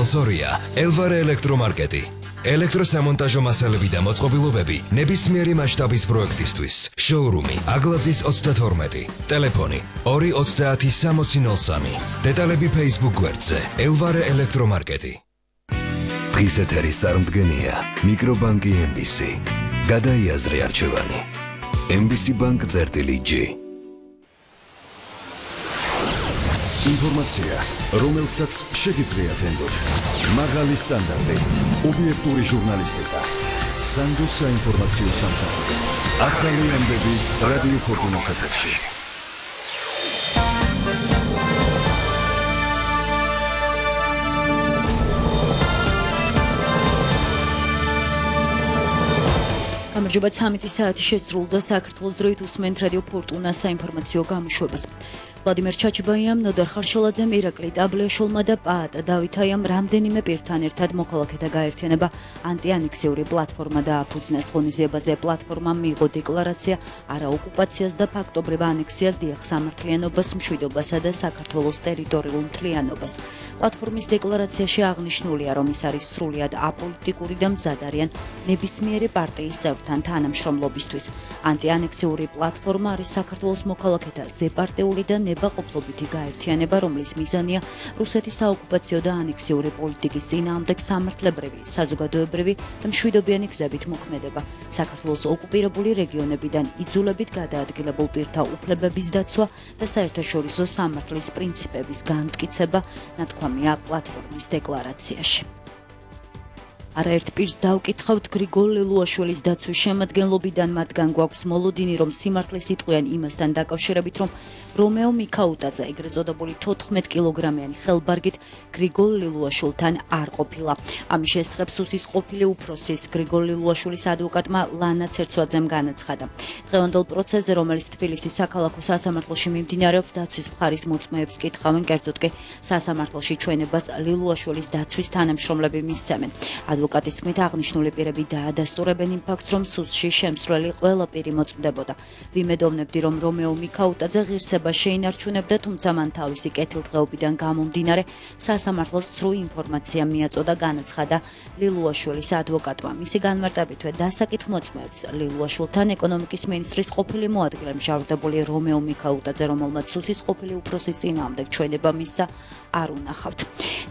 სპონსორია ელვარე ელექტრომარკეტი. ელექტროსამონტაჟო მასალები და მოწყობილობები ნებისმიერი მასშტაბის პროექტისთვის. შოურუმი აგლაძის 32. ტელეფონი 230 დეტალები Facebook გვერდზე ელვარე ელექტრომარკეტი. დღის ეთერის წარმდგენია მიკრობანკი MBC. გადაიაზრე არჩევანი. MBC Bank-G. ინფორმაცია, რომელსაც შეგიძლიათ ენდოთ. მაღალი სტანდარტი, ობიექტური ჟურნალისტიკა. სანდო საინფორმაციო სამსახური. ახალი ამბები რადიო ფორტუნას ეთერში. გამარჯობა 13 საათი შესრულდა საქართველოს დროით უსმენთ რადიო ფორტუნას საინფორმაციო გამოშვებას. ვლადიმერ ჩაჩიბაიამ, ნოდარ ხარშალაძემ, ირაკლი ტაბლიაშვილმა და პაატა დავითაიამ რამდენიმე პირთან ერთად მოქალაქეთა გაერთიანება ანტიანექსიური პლატფორმა დააფუძნეს. ღონისძიებაზე პლატფორმამ მიიღო დეკლარაცია არაოკუპაციას და ფაქტობრივ ანექსიას, დიახ სამართლიანობას, მშვიდობასა და საქართველოს ტერიტორიულ მთლიანობას. პლატფორმის დეკლარაციაში აღნიშნულია, რომ ის არის სრულიად აპოლიტიკური და მზად არიან ნებისმიერი პარტიის წევრთან თანამშრომლობისთვის. ანტიანექსიური პლატფორმა არის საქართველოს მოქალაქეთა ზეპარტიული და ნებაყოფლობითი გაერთიანება, რომლის მიზანია რუსეთის საოკუპაციო და ანექსიური პოლიტიკის წინააღმდეგ სამართლებრივი, საზოგადოებრივი და მშვიდობიანი გზებით მოქმედება. საქართველოს ოკუპირებული რეგიონებიდან იძულებით გადაადგილებულ პირთა უფლებების დაცვა და საერთაშორისო სამართლის პრინციპების განმტკიცება, ნათქვამია პლატფორმის დეკლარაციაში. არაერთ პირს დავკითხავთ გრიგოლ ლელუაშვილის დაცვის შემადგენლობიდან, მათგან გვაქვს მოლოდინი, რომ სიმართლეს იტყვიან იმასთან დაკავშირებით, რომ რომეო მიქაუტაძე, ეგრეთ წოდებული 14 კილოგრამიანი ხელბარგით გრიგოლ ლელუაშვილთან არ ყოფილა. ამის შესახებ სუსის ყოფილი უფროსის გრიგოლ ლელუაშვილის ადვოკატმა ლანა ცერცვაძემ განაცხადა. დღევანდელ პროცესზე, რომელიც თბილისის საქალაქო სასამართლოში მიმდინარეობს, დაცვის მხარის მოწმეებს კითხავენ, კერძოდ კი სასამართლოში ჩვენებას ლელუაშვილის დაცვის თანამშრომლები მისცემენ. ადვოკატის თქმით, აღნიშნული პირები დაადასტურებენ იმ ფაქტს, რომ სუსში შემსვლელი ყველა პირი მოწმდებოდა. ვიმედოვნებდი, რომ რომეო მიქაუტაძე ღირსება შეინარჩუნებდა, თუმცა მან თავისი კეთილდღეობიდან გამომდინარე სასამართლოს სრულ ინფორმაცია მიაწოდა, განაცხადა ლელუაშვილის ადვოკატმა. მისი განმარტებითვე დასაკითხ მოწმეებს ლელუაშვილთან ეკონომიკის მინისტრის ყოფილი მოადგილე მჟავრდებული რომეო მიქაუტაძე, რომელმაც სუსის ყოფილი უფროსის წინააღმდეგ ჩვენება მისცა, არ უნახავთ.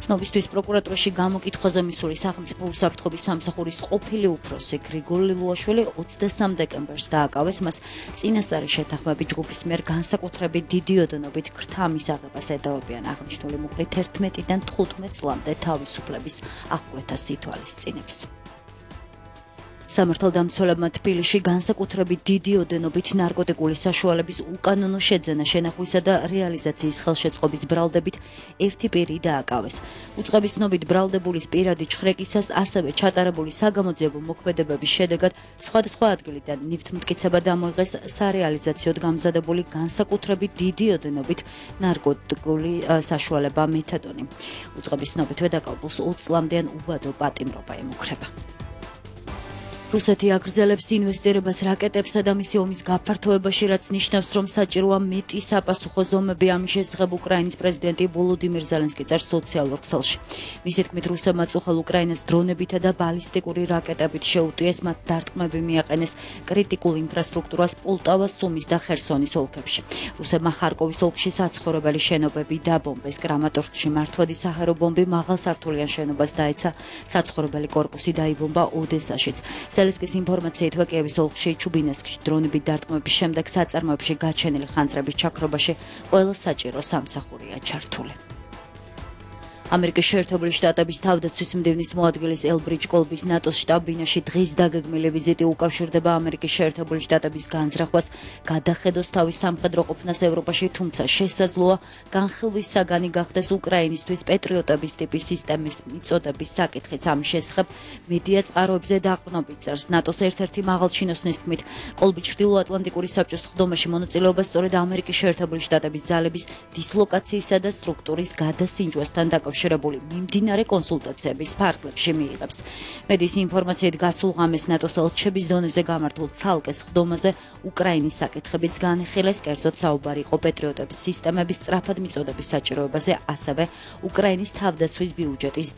ცნობისთვის პროკურატურაში გამოკითხვაზე მისული სახელმწიფო უსაფრთხოების სამსახურის ყოფილი უფროსი გრიგოლ ლელუაშვილი 23 დეკემბერს დააკავეს. მას წინასწარი შეთანხმებით ჯგუფის მიერ განსაკუთრებით დიდი ოდენობით ქრთა მისაღებას ედავებიან. აღნიშნული მუხლით 11-დან 15 წლამდე თავისუფლების აღკვეთას ითვალისწინებს. სამართალდამცველებმა თბილისში განსაკუთრებით დიდი ოდენობით ნარკოტიკული საშუალების უკანონო შეძენა, შენახვისა და რეალიზაციის ხელშეწყობის ბრალდებით ერთი პირი დააკავეს. უწყების ცნობით ბრალდებულის პირადი ჩხრეკისას, ასევე ჩატარებული საგამოძიებო მოქმედებების შედეგად სხვადასხვა ადგილიდან ნივთმტკიცება დამოიღეს სარეალიზაციოდ გამზადებული განსაკუთრებით დიდი ოდენობით ნარკოტიკული საშუალება მეთადონი. უწყების ცნობითვე დაკავებულს 20 წლამდეან უვადო პატიმრობა ემუქრება. რუსეთი აგრძელებს ინვესტირებას რაკეტებსა და მისი ომის გაფართოებაში, რაც ნიშნავს, რომ საჭიროა მეტი საპასუხო ზომები. ამის შესახებ უკრაინის პრეზიდენტი ვოლოდიმირ ზელენსკი წერს სოციალურ ქსელში. მისი თქმით, რუსებმა წუხელ უკრაინას დრონებითა და ბალისტიკური რაკეტებით შეუტიეს, მათ დარტყმები მიაყენეს კრიტიკულ ინფრასტრუქტურას პოლტავას, სუმის და ხერსონის ოლქებში. რუსებმა ხარკოვის ოლქში საცხოვრებელი შენობები დაბომბეს. კრამატორსკში მართვადი საჰაერო ბომბი მაღალსართულიან შენობას დაეცა, საცხოვრებელი კორპუსი დაიბომბა ოდესაშიც. ზელენსკის ინფორმაციით, კიევის ოლქში ჩუბინესკში დრონებით დარტყმების შემდეგ საწარმოებში გაჩენილი ხანძრების ჩაქრობაში ყველა საჭირო სამსახურია ჩართული. ამერიკის შეერთებული შტატების თავდაცვის მდივნის მოადგილის ელბრიჯ კოლბის ნატოს შტაბ-ბინაში დღის დაგეგმილი ვიზიტი უკავშირდება ამერიკის შეერთებული შტატების განზრახვას, გადახედოს თავის სამხედრო ყოფნას ევროპაში, თუმცა შესაძლოა განხილვის საგანი გახდეს უკრაინისთვის პეტრიოტების ტიპის სისტემის მიწოდების საკითხიც. ამის შესახებ მედია წყაროებზე დაყრდნობით წერს ნატოს ერთ-ერთი მაღალჩინოსნის თქმით, კოლბი ჩრდილოატლანტიკური საბჭოს სხდომაში მონაწილეობას სწორედ ამერიკის შეერთებული შტატების ძალების დისლოკაციისა და სტრუქტურის გადასინჯვასთან დაკავშირებით მიმდინარე კონსულტაციების ფარგლებში მიიღებს. მედიის ინფორმაციით გასულ ღამეს ნატოს ელჩების დონეზე გამართულ ცალკე სხდომაზე უკრაინის საკითხებიც განიხილეს, კერძოდ საუბარი იყო პეტრიოტების სისტემების სწრაფად მიწოდების საჭიროებაზე, ასევე უკრაინის თავდაცვის ბიუჯეტის